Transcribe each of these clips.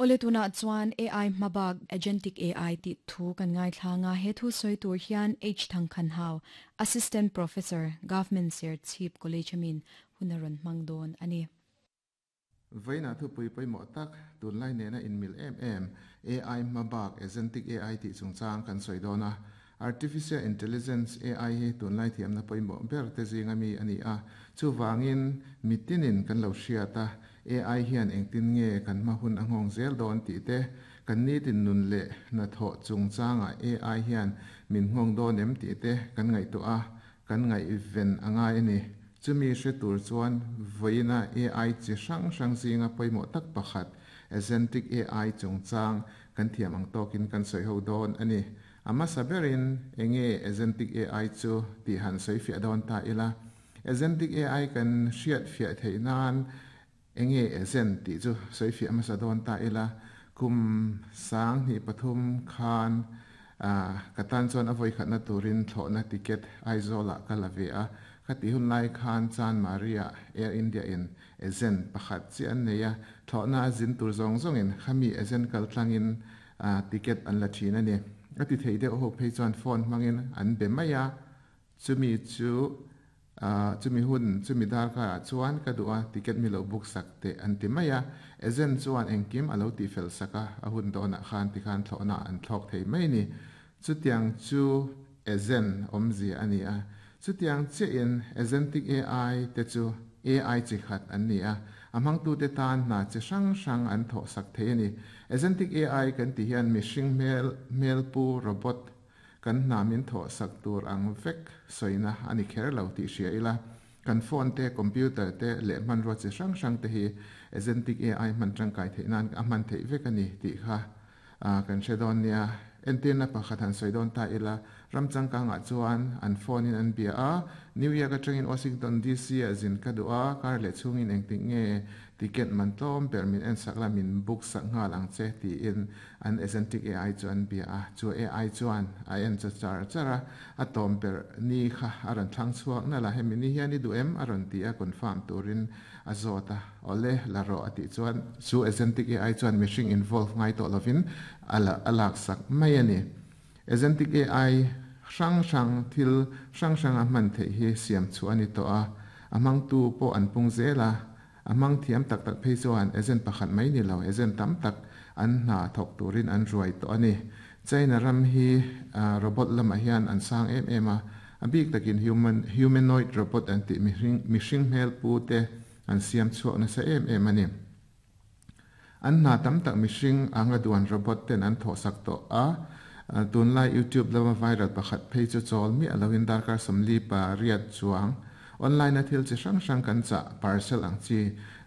Awle tunah chuan AI hmabak Agentic AI tih thu kan ngaithlang a, he thu sawi tur hian H Thangkhanhau, Assistant Professor, Government Serchhip College amin hun a rawn hmang dawn a ni. Vawiinah thupui pawimawh tak, tunlai nena inmil em em, AI hmabak Agentic AI tih chungchang kan sawi dawn a. Artificial Intelligence, AI, hi tunlai thiamna pawimawh ber te zinga mi a ni a. Chuvangin, mitinin kan lo hriat a, AI hian engtin nge kan hma hun a nghawng zel dawn tih te, kan nitin nun leh hnathawh chungchangah AI hian min nghawng dawn em tih te kan ngaihtuah a, kan ngaihven a ngai a ni. Chumi hre tur chuan vawiina AI chi hrang hrang zinga pawimawh tak pakhat, Agentic AI chungchang kan thiam ang tawkin kan sawi ho dawn a ni. A hmasa berin enge Agentic AI chu tih han sawi fiah dawn ta ila. Agentic AI kan hriat fiah theih nan enge agent tih chu sawi fiah hmasa dawn ta ila. Kum 2003 khan ka tan chuan a vawikhatna turin thlawhna ticket Aizawlah ka la ve a. Khati hun lai khan Chanmari-ah Air India in agent pakhat chiah an nei a. Thlawhna a zin tur zawng zawngin khami agent kaltlangin Ticket an la thin a ni. A ti thei deuh ho phei chuan phone hmangin an be mai a, chumi chu chumi hun chumi darkarah chuan ka duh a, ticket mi lo book sak teh an ti mai a. Agent chuan engkim a lo tihfel sak a, a hun dawnah khan tikhan thlawhna an thlawk thei mai a ni. Chutiang chu agent awmzia a ni a. Chutiang chiahin agentic AI te chu AI chi khat an ni a, a hmangtute tan hna chi hrang hrang an thawh sak thei a ni. Agentic AI kan tih hian mihring hmel, hmelpu, robot, kan hna min thawh sak tur ang vek sawina a ni kher lo tih hria ila, kan phone te, computer te leh hmanrua chi hrang hrang te hi Agentic AI hman tangkai theih nan a hman theih vek a ni tih kha kan hre dawn nia. Entirna pakhat han sawi dawn ta ila, ram changkangah chuan an phone in an bia a, New York atangin Washington DC ah zin ka duh a, kar leh chhungin engtik nge ticket man tlawm ber min en sak la, min book sak nghal ang che tiin an agentic AI chu an bia a, chu AI chuan a en cha char char a, a tawm ber ni kha a rawn thlang chhuak nalh a, hemi ni hian i duh em? a rawn ti a, confirm turin A zawt a, Awle, la rawh a tih chuan chu Agentic AI chuan mihring involve ngai tawh lovin a la a laksak mai a ni. Agentic AI hrang hrang thil hrang hrang a hman theih hi siam chhuah a ni tawh a, a hmangtu pawh an pung zel a, a hmang thiam tak tak phei chuan agent pakhat mai ni lo agent tam tak an hna thawk turin an ruai tawh a ni. China ram hi robot lamah hian an sang em em a, A bik takin human, humanoid robot an tih mihring, mihring hmel pu te an siam chhuak nasa em em a ni. An hna tam tak mihring anga duan robot ten an thawhsak tawh a, tunlai YouTube lama viral pakhat phei chu chawl miah loin darkar 48 chuang online a thil chi hrang hrang kan chah parcel ang chi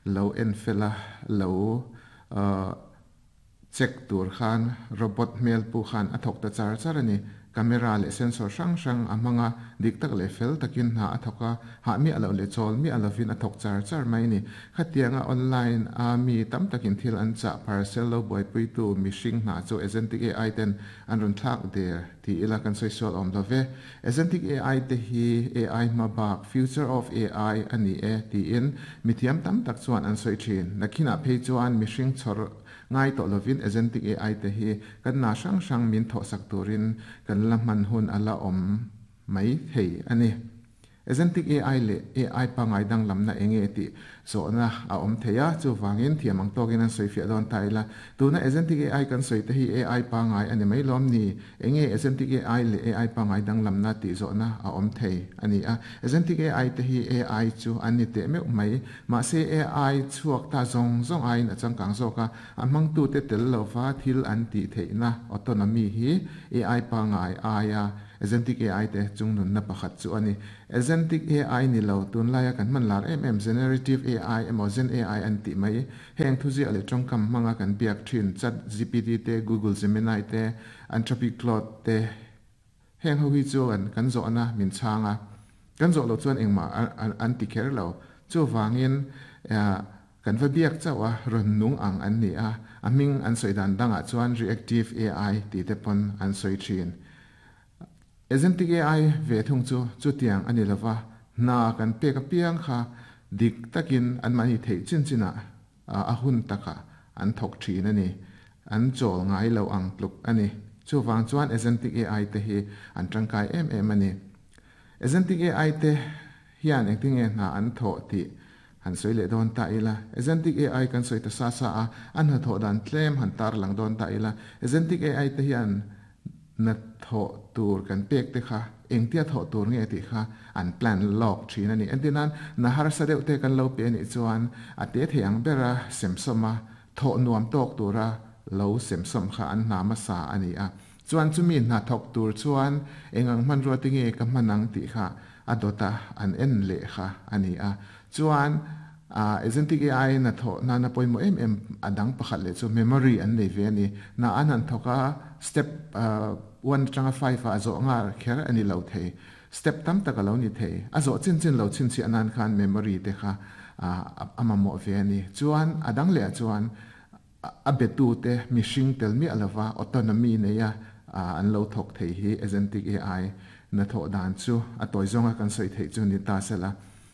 lo en fel a, lo Check tur khan robot hmel pu khan a thawk ta char char a ni. Camera leh sensor hrang hrang a hmang a, dik tak leh fel takin hna a thawk a, hah miah loh leh chawl miah lovin a thawk char char mai a ni. Khatianga online a mi tam takin thil an chah parcel lo buaipuitu mihring hna chu Agentic AI ten an rawn thlak der ti ila kan sawi sual awm lo ve. Agentic AI te hi AI hma bak, future of AI, a ni e tiin mithiam tam tak chuan an sawi thin. Nakhinah phei chuan mihring chhawr Ngai tawh lovin Agentic AI te hi kan hna hrang hrang min thawhsak turin kan la hman hun a la awm mai thei a ni. Agentic AI leh AI pangngai danglamna eng nge tih zawhna a awm thei a, chuvangin thiam ang tawkin an sawifiah dawn ta ila. Tuna Agentic AI kan sawi te hi AI pangngai a ni mai lawm ni? Eng nge Agentic AI leh AI pangngai danglamna tih zawhna a awm thei a ni a. Agentic AI te hi AI chu an ni teh meuh mai. Mahse AI chhuak ta zawng zawng aiin a changkang zawk a, a hmangtute tel lova thil an tih theihna autonomy hi AI pangngai aia Agentic AI te chungnunna pakhat chu a ni. Agentic AI ni lo, tunlaia kan hman lar em em Generative AI emaw Gen AI an tih mai. Heng thuziah leh tawngkam hmanga kan biak thin Chat GPT te, Google Gemini te, Anthropic Claude te, Heng ho hi chuan kan zawhna min chhang a, kan zawh loh chuan engmah an ti kher lo. Chuvangin kan va biak chauh a, rawn nung ang an ni a, a hming an sawi dan dangah chuan Reactive AI tih te pawn an sawi thin. Agentic AI ve thung chu chutiang a ni lova, hna kan pek apiang kha dik takin anmahni theih chin chinah a hun takah an thawk thin a ni. An chawl ngai lo ang tluk a ni. Chuvang chuan Agentic AI te hi an tangkai em em a ni. Agentic AI te hian engtinge hna an thawh tih han sawi leh dawn ta ila. Agentic AI kan sawi ta sa sa a, an hnathawh dan tlem han tarlang dawn ta ila. Agentic AI te hian na thawh tur kan pek te kha engtia thawh tur nge tih kha an plan lawk thin a ni. Entirnan, na harsa deuh te kan lo pe anih chuan a te thei ang bera semsawm a, thawh nuam tawk tura lo semsawm kha an hna hmasa a ni a. Chuan chumi hna thawk tur chuan eng ang hmanrua te nge ka hman ang tih kha a dawta an en leh kha a ni a. Chuan Agentic AI in a thawh nana pawimawh em em a dang pakhat leh chu memory an nei ve a ni. Na an han thawk a, step one atanga five ah a zawh nghal kher a ni lo thei. Step tam tak a lo ni thei. A zawh chin chin lo chhinchhiah nan khan memory te kha a mamawh ve a ni. Chuan a dang leh ah chuan a betute mihring tel miah lova autonomy neia an lo thawk thei hi Agentic AI na thawh dan chu a tawi zawnga kan sawi theih chu ni ta sela.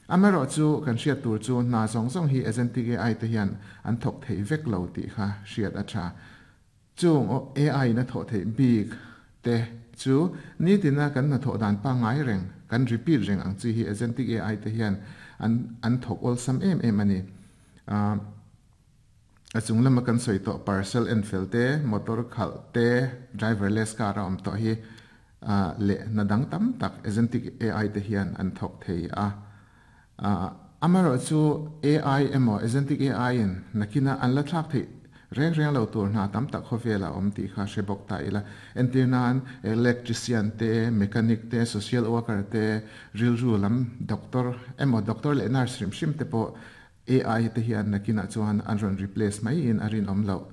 Amaherawhchu kan hriat tur chu hna zawng zawng hi Agentic AI te hian an thawk thei vek lo tih kha hriat a tha. Chung AI in a thawh theih bik te chu nitina kan hnathawh dan pangngai reng, kan repeat reng ang chi hi Agentic AI te hian an thawk awlsam em em a ni. A chung lama kan sawi tawh parcel en fel te, motor khalh te, driverless car a awm tawh hi leh hna dang tam tak agentic AI te hian an thawk thei a. Amaherawhchu AI emaw agentic AI in nakina an la thlak theih reng reng lo tur hna tam tak khawvel a awm tih kha hre bawk ta ila. Entir nan electrician te, mechanic te, social worker te, rilru lam doctor emaw doctor leh nurse hrim hrim te pawh AI te hian nakinah chuan an rawn replace mai in a rinawm loh.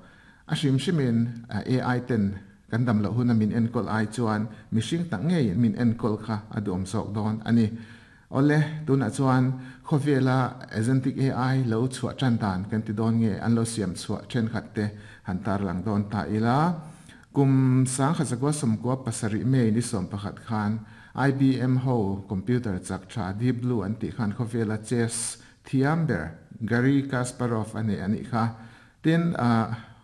A hrim hrimin AI ten kan dam loh huna min enkawl ai chuan mihring tak ngeiin min enkawl kha a duhawm zawk dawn a ni. Awle, tunah chuan khawvela Agentic AI lo chhuah tan dan kan ti dawn nge an lo siam chhuah thenkhat te han tarlang dawn ta ila. Kum 1997 May ni 11 khan IBM ho computer chak tha Deep Blue an tih khan khawvela chess Thiam ber Garry Kasparov a nei a nih kha. Tin,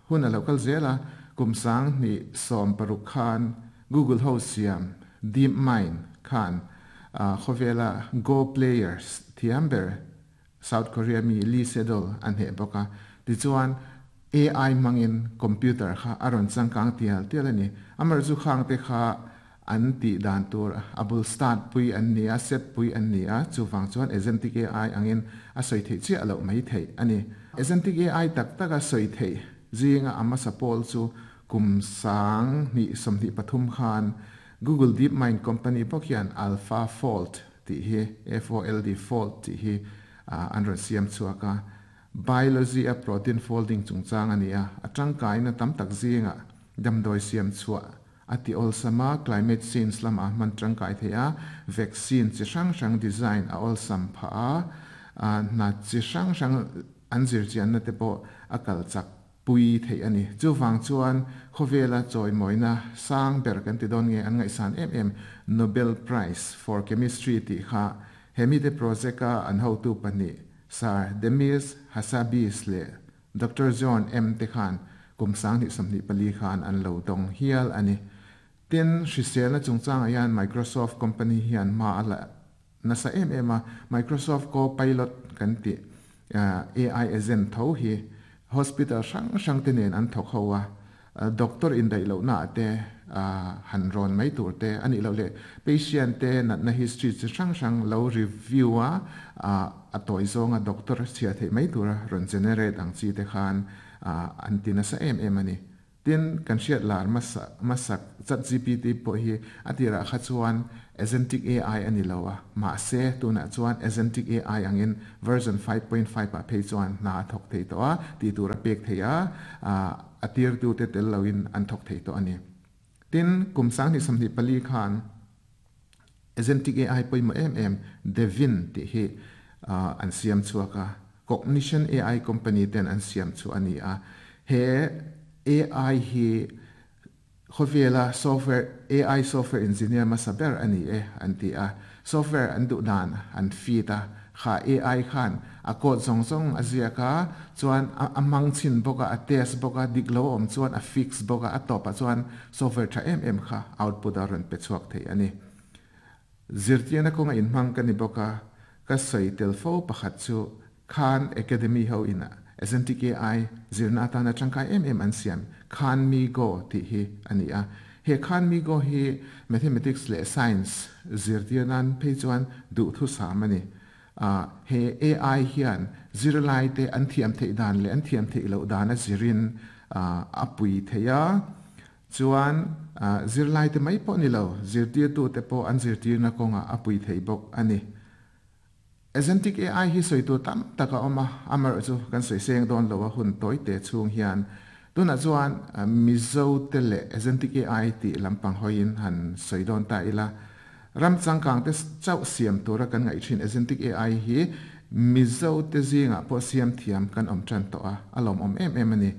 hun a lo kal zel a, kum 2016 khan Google ho siam DeepMind khan khawvela Go players thiam ber South Korea mi Lee Sedol a hneh bawk a. Tichuan, AI hmangin computer kha a rawn changkang tial tial a ni. Amaherawhchu khangte kha An tih dan tur a bul start pui an ni a, set pui an ni a, chuvang chuan Agentic AI angin a sawi theih chiah loh mai theih a ni. Agentic AI tak taka sawi theih zinga a hmasa pawl chu kum 2023 khan Google DeepMind company bawk hian AlphaFold tih hi, F-O-L-D, Fold tih hi an rawn siam chhuak a. Biology a protein folding chungchang a ni a, a tangkaina tam tak zingah damdawi siam chhuah A ti awlsam a, climate change lamah hman tangkai thei a, vaccine chi hrang hrang design a awlsam phah a, hna chi hrang hrang an zirchianna te pawh a kal chak pui theih a ni. Chuvang chuan khawvela chawimawina sang ber kan ti dawn nge an ngaihsan em em Nobel Prize for Chemistry tih kha he mite project-a an hotu pahnih Sir Demis Hassabis leh Doctor John M te khan kum 2024 khan an lo dawng hial a ni. Tin, hriselna chungchangah hian Microsoft company hian hma a la nasa em em a, Microsoft Copilot kan tih AI agent tho hi hospital hrang hrang te nen an thawk ho a, Doctor indaih lohna ah te han rawn mai tur te a nih loh leh patient te natna history chi hrang hrang lo review a, a tawi zawnga doctor chhiah theih mai tura rawn generate ang chi te khan an ti nasa em em a ni. Tin, kan hriat lar hmasak ChatGPT pawh hi a tirah kha chuan Agentic AI a ni lo a, mahse tunah chuan Agentic AI angin version 5.5 ah phei chuan hna a thawk thei tawh a, tih tur a pek thei a, a tirtute tel loin an thawk thei tawh a ni. Tin, kum 2024 khan Agentic AI pawimawh em em Devin tih hi an siam chhuak a, Cognition AI company ten an siam chu a ni a. He AI hi Khawvela software AI software engineer hmasa ber a ni e an ti a, software an duh dan an feed a, kha AI khan A code zawng zawng a ziak a, chuan a hmang chhin bawk a, a test bawk a, dik lo a awm chuan a fix bawk a, a tawpah chuan software tha em em kha output a rawn pe chhuak thei a ni. Zirtirna kawnga inhmang ka ni bawk a, ka sawi tel fo pakhat chu Khan Academy ho in Agentic AI zirna atana tangkai em em an siam Khan MiGo tih hi a ni a. He Khan MiGo hi Mathematics leh Science zirtir nan phei chuan duhthusam a ni. He AI hian zirlaite an thiam theih dan leh an thiam theih loh dan a zirin a pui thei a. Chuan zirlaite mai pawh ni lo, zirtirtute pawh an zirtirna kawngah a pui thei bawk a ni. Agentic AI hi sawi tur tam tak a awm a, amaherawh chu kan sawi seng dawn lo a hun tawi te chhung hian. Tunah chuan Mizo te leh Agentic AI tih lampang hawiin han sawi dawn ta ila. Ram changkang te chauh siam tura kan ngaih thin Agentic AI hi Mizo te zingah pawh siam thiam kan awm tan tawh a, a lawmawm em em a ni.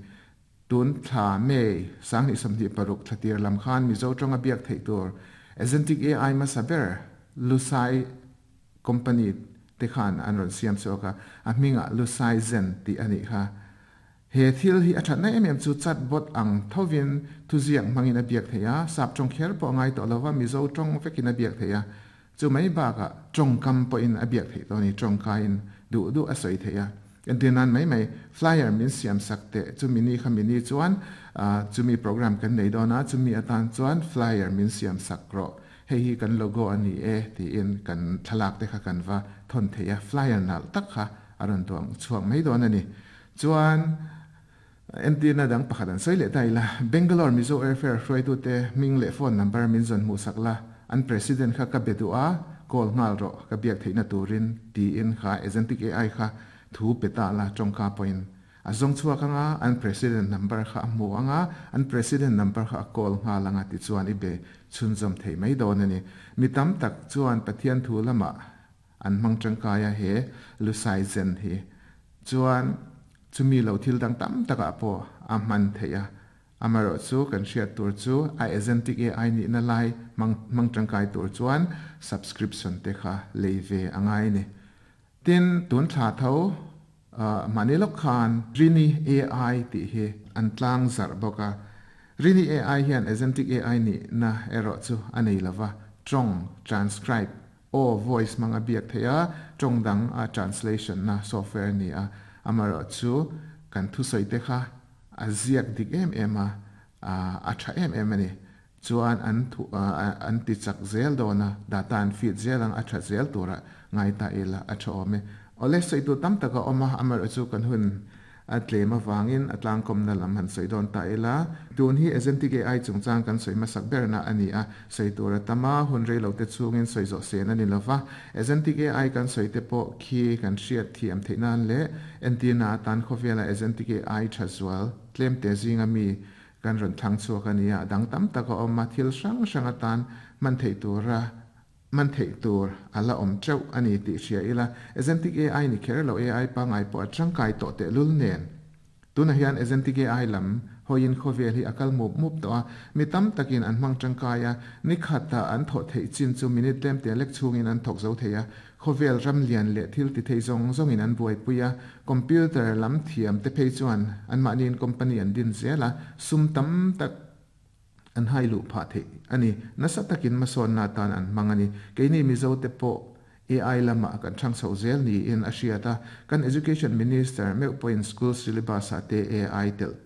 Tun thla May 2026 thla tir lam khan Mizo tawnga biak theih tur Agentic AI hmasa ber Lusai Company te khan an rawn siam chhuak a, a hmingah Lusai Zen tih a nih kha. He thil hi a thatna em em chu chatbot ang thovin thuziak hmangin a biak theih a, sap tawng kher pawh a ngai tawh lova Mizo tawng vekin a biak theih a, chu mai bakah tawngkam pawhin a biak theih tawh a ni, tawngkaiin duh duh a sawi theih a. Entir nan mai mai flyer min siam sak teh chumi ni kha mini chuan chumi program kan nei dawn a, chumi atan chuan flyer min siam sak rawh. Hei hi kan logo a ni e tiin kan thlalak te kha kan va thawn thei a, flyer nalh tak kha a rawn tuang chhuak mai dawn a ni. Chuan entirna dang pakhat an sawi leh ta ila, Bangalore Mizo Airfare hruaitute hming leh phone number min zawn hmuhsak la, an president kha ka be duh a, call nghal rawh ka biak theihna turin tiin kha Agentic AI kha thu pe ta la tawngka pawhin A zawng chhuak anga an president number kha a hmu anga an president number kha a call nghal anga tichuan i be chhunzawm thei mai dawn a ni. Mi tam tak chuan Pathian thu lamah an hmang tangkai a he Lusai Zen hi chuan chumi lo thil dang tam takah pawh a hman theih a. Amaherawh chu kan hriat tur chu a agentic AI nihna lai hmang hmang tangkai tur chuan subscription te kha lei ve a ngai a ni. Tin, tun thla tho mahni lawk khan Rini AI tih hi an tlang zarh bawk a. Rini AI hian Agentic AI nihna erawh chu a nei lo va, tawng transcribe, aw, voice, hmang a biak theih a, tawng dang a translation na software a ni a. Amaherawh chu kan thusawi te kha a ziak dik em em a, a tha em em a ni. Chuan an thu an ti chak zel dawn a, data an feed zel ang a tha zel tura ngai ta ila a tha awm e. Awle sawi tur tam tak a awm a, amaherawh chu kan hun a tlem avangin a tlangkawmna lam han sawi dawn ta ila. Tun hi Agentic AI chungchang kan sawi hmasak berna a ni a, sawi tur a tam a, hun rei lo te chhungin sawi zawh sen a ni lova. Agentic AI kan sawi te pawh khi kan hriat thiam theih nan leh entirna atan khawvela Agentic AI tha zual tlemte zinga mi Kan rawn thlang chhuak a nia, a dang tam tak a awm a, thil hrang hrang atan hman theih tura hman theih tur a la awm teuh a ni tih hria ila, Agentic AI ni kher lo AI pangngai pawh a tangkai tawh tehlul nen. Tunah hian Agentic AI lam hawiin khawvel hi a kal mup mup tawh a, mi tam takin an hmang tangkai a, ni khata an thawh theih chin chu minute tlemte lek chhungin an thawk zo thei a, Khawvel ram lian leh thil ti thei zawng zawngin an buaipui a, computer lam thiam te phei chuan anmahniin company an din zel a, sum tam tak an hai luh phah theih a ni. Nasa takin hmasawnna atan an hmang a ni. Keini Mizo te pawh AI lamah kan thang chho zel niin a hriat a, kan Education Minister meuh pawhin school syllabus ah te AI telh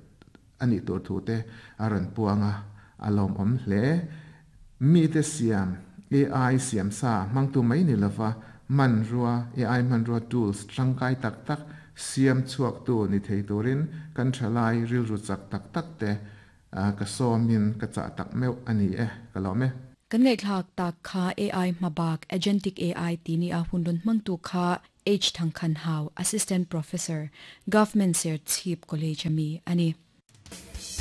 a nih tur thu te a rawn puang a, a lawmawm hle. Mite siam, AI siam sa hmangtu mai ni lova hmanrua, AI hmanrua tools tangkai tak tak siam chhuaktu ni thei turin kan thalai rilru chak tak tak te ka sawmin ka chah tak meuh a ni e, ka lawm e. Kan ngaihthlak tak kha AI hmabak, Agentic AI ti nia hun rawn hmangtu kha H Thangkhanhau, Assistant Professor, Government Serchhip College a mi a ni.